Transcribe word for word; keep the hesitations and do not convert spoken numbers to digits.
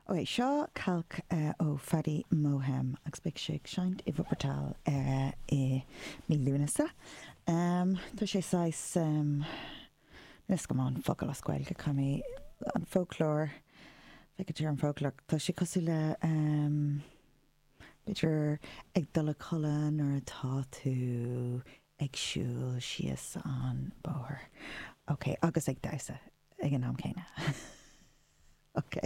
Ok, seo calc uh, ó Fadi Mohem agus beidh sé ag seinnt i Wuppertal uh, i mí Lúnasa. Um, tá sé saghas um, Nis go an focal as Gaeilge chu an folklore Feiceir an folklore Tá sé cosúil le um, b'fhéidir ag dul a chodladh nuair atá tú ag siúl síos an bóthar. Ok, agus ag damhsa ag an am céanna. Ok.